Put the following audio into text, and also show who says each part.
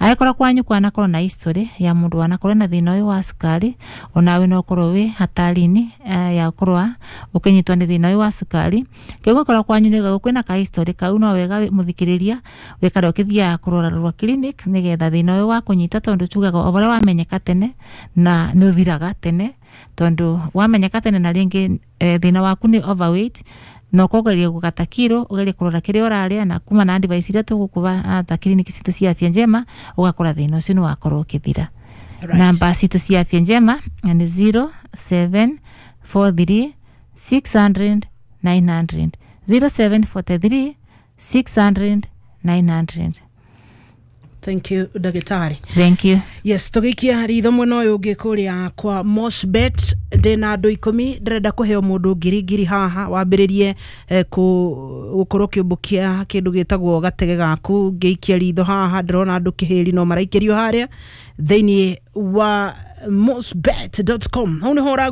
Speaker 1: Angĩkorwo kwanyu kwanakorwo na history ya mũndũ wanakorwo na thĩna ũyũ wa cukari, onawe no ũkorwo wĩ hatari-inĩ ya gũkorwo ũkĩnyitwo nĩ thĩna ũyũ wa cukari. Kĩũngĩkorwo kwanyu nĩ kwĩna ka history kau, no wega mũthikĩrĩria wĩkare ũkĩthiaga kũrorarorwo clinic nĩgetha thĩna ũyũ wa kũnyita, tondũ tugaga o ũrĩa wamenyeka tene na nĩ ũthiraga tene, tondũ wamenyeka tene na rĩngĩ thĩna waku nĩ overweight na ũkogeria gũgata kiro, ũgerie kũrora kĩrĩa ũrarĩa na kuma na advice iria tũgũkũba ta clinic citũ cia Afya Njema, ũgakora thĩna ũcio nĩ wakorwo ũkĩthira. Namba citũ cia Afya Njema nĩ 0743 600 900, 0743 600 900.
Speaker 2: Thank you, ndagĩtarĩ.
Speaker 1: Thank you.
Speaker 2: Yes, tũgĩikia ritho mwena ũyũ ũngĩ kũrĩa kwa Mosbet, ndĩna andũ 10 ndĩrenda kũheo mũndũ ngiri ngiri haha wambĩrĩrie gũkorwo ũkĩũmbũkia kĩndũ gĩtagwo gatege gaku. Ngĩikia ritho haha ndĩrona andũ kĩhĩri no maraikĩrio harĩa thĩinĩ wa mosbet.com, hau nĩho ũragura.